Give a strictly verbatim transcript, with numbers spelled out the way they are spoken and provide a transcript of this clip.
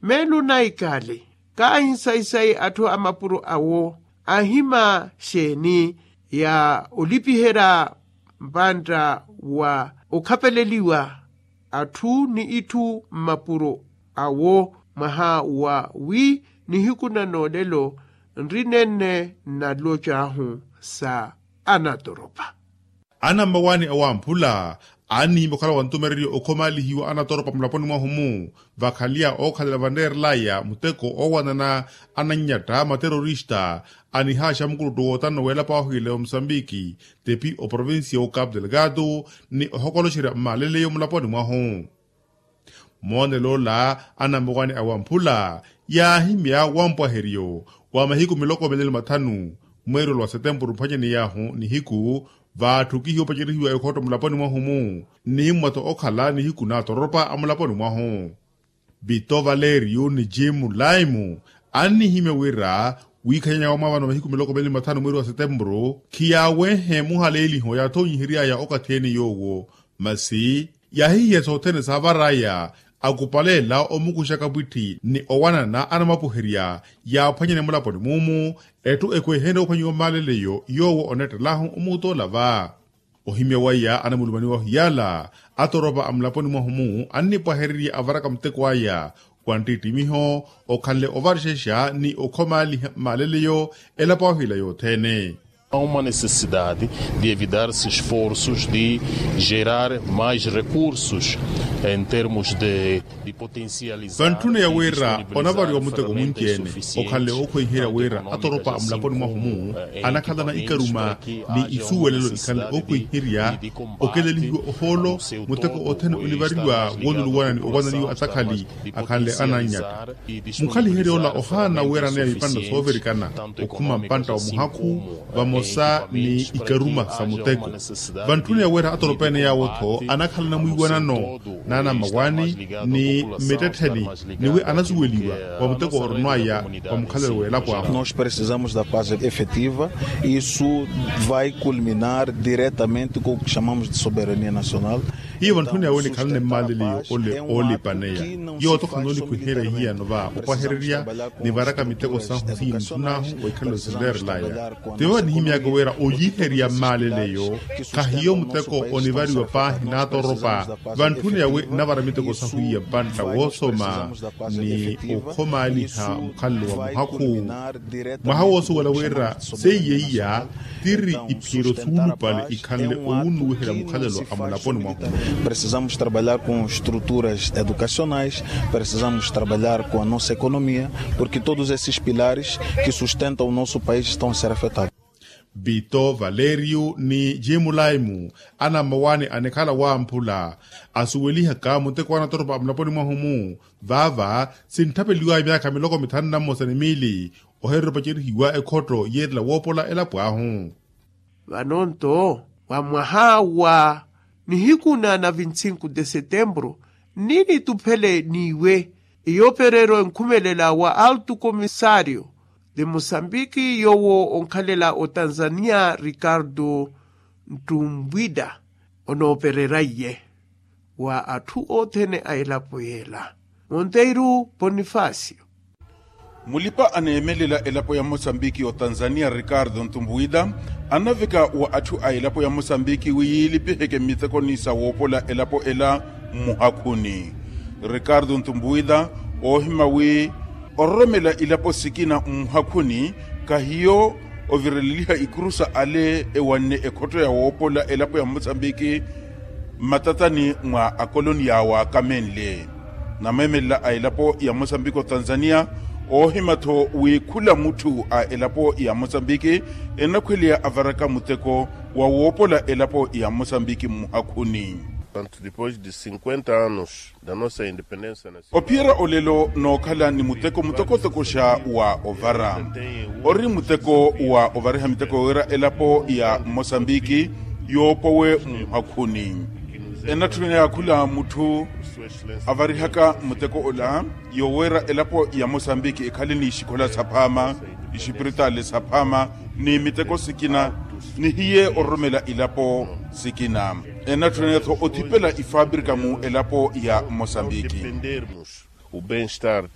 Meelo naikali kaahinsayisayi atthu a mapuro awo ahima xeeni ya olipiherya mpantta wa okhapeleliwa atthu ni itthu mmapuro awo mwaha wa wi nihiku na noolelo nri nenne nalocahu sa anatoropa. Anammawaani awamphula aanihimya okhala wa ntumereryo okhomaalihiwa anatoropa mulaponi mwahu-mu vakhalya ookhalela vaneerelaya muteko oowanana anannyatta materorista anihaaxa mukuluttu wootano weelapo ahwiile wa musambiki tepi oprovincia wo capu delgado ni ohokoloxerya mmaaleleyo mulaponi mwahu. Moonel'ola anammawaani awamphula yaahimya wampwaheryo wa mahiku miloko mili ni mathanu mweerelo wa setempuru mphwanyaniy'ahu nihiku vaatthukihiwa opacerihiwa ekhotto mulaponi mwahu-mu. Nimmwa-tho okhala nihiku naatoropa a mulaponi mwahu. Vito valerio ni jimu laimu annihimya wira wiikhanyanya wamwaavano mahiku miloko mili ni mathanu mweeri wa setempuru khiyaawenhe muhaleeliho yaathoonyihery'aya okathi-ene yoowo. Masi yaahihiya sothene saavar'aya akupaleela omukuxaka pwitthi ni owanana anamwapuherya yaaphwanyane mulaponi mumu. Etthu ekhwehenrye ophwanyiwa mmaaleleyo yoowo onettelahu omuutola va. Ohimya waya anamulumaniwa hiyala atoropa a mulaponi mwahu-mu annipwahererya avaraka muteko aya wa nttittimiho okhanle ovarexexa ni okhomaaliha mmaaleleyo elapo ahwiila yothene. Há uma necessidade de evitar se esforços de gerar mais recursos em termos de de potencializar vantthuna ya wira onavariwa muteko munci-ene okhanle ookhweiherya wira atoropa a mulaponi mwahu-mu anakhalana ikaruma ni isuwelelo ikhanle ookhweiherya okelelihiwa ohoolo muteko othene onivariwa wooluluwana ni owananiwa atakhali akhanle anannyata. Mukhaliherya ola ohaana weeraneya vipantta soovirikana okhuma mpantta wa muhakhu vamosa ni ikaruma sa muteko. Vantthuna ya wira atoropa-ene yaawo-tho anakhalana mwiiwanano n'anammawaani ni mmittettheni ni wi anasuweliwa wa muteko oronw'aya wa mukhalelo w'elapo ahu. Nós precisamos da paz efetiva. Isso vai culminar diretamente com o que chamamos de soberania nacional. Hiyo vantthuna yawe nikhalane mmaaleliyo ole oolipaneya. Yooto khanoonikhwiherya hiyano va opwahererya nivaraka miteko sahu siyi ntthunahu wa ikhalelo sinleerelaya. Tivo vanihimyaka wira oliherya mmaaleleyo khahiyo muteko onivariwa paahi n'atoropa vantthuna yawe nnavara miteko sahu iya mpantta woosoma ni okhomaaliha mukhalelo wa muhakhu. Mwaha woosuwela wira seiya iya tiri iphiro suulupale ikhanle owunnuwiherya mukhalelo a mulaponi mwahu. Precisamos trabalhar com estruturas educacionais, precisamos trabalhar com a nossa economia, porque todos esses pilares que sustentam o nosso país estão a ser afetados. Vito valerio ni jimulaimu anammawaani anikhala wamphula asuwelihaka muteko anatoropa a mulaponi mwahu-mu. Vaava sintthapeliwaya myaakha miloko mithanu na mmosa ni miili ohireera opacerihiwa ekhotto yeerela woopola elapo ahu. Vano-nto wa mwaha wa nihiku na na vintsinku de setempuru nni nituphele n'iwe eyoopereryo enkhumelela wa altu komisaario de mosambiki yoowo onkhalela otanzania ricardo ntumbwida onoopereraiye wa atthu othene a elapo yeela. Monteiro ponifasio. Mulipa aneemelela elapo ya mosambiki otanzania ricardo ntumbuwida anaveka wa atthu a elapo ya mosambiki wi yiilipiheke mmitekoni sa woopola elapo ela mmuhakhuni. Ricardo ntumbuwida oohima wi ororomela ilapo sikina mmuhakhuni kahiyo ovireleliha ikurusa ale ewanne ekhotto ya woopola elapo ya mosambiki mmatatani mwa akoloni yaawaakamenle. Nameemelela a elapo ya mosambiki otanzania oohima-tho wi khula mutthu a elapo ya mosambiki enakhweleya avaraka muteko wa woopola elapo ya mosambiki mmuhakhuni. Tanto depois de cinquenta anos da nossa independência nacional. Ophiyerya olelo nookhala ni muteko mutokotokoxa wa ovara ori muteko wa ovariha miteko wira elapo ya mosambiki yoopowe mmuhakhuni. Enatthuna yaakhula mutthu avarihaka muteko ola yowira elapo ya mosambiki ekhale ni ixikhola saphaama ixipiritaali saphaama ni miteko sikina ni hiye ororomela ilapo sikina. Enatthuna-tho othipela ifabrika mu elapo ya mosambiki. O bem-estar.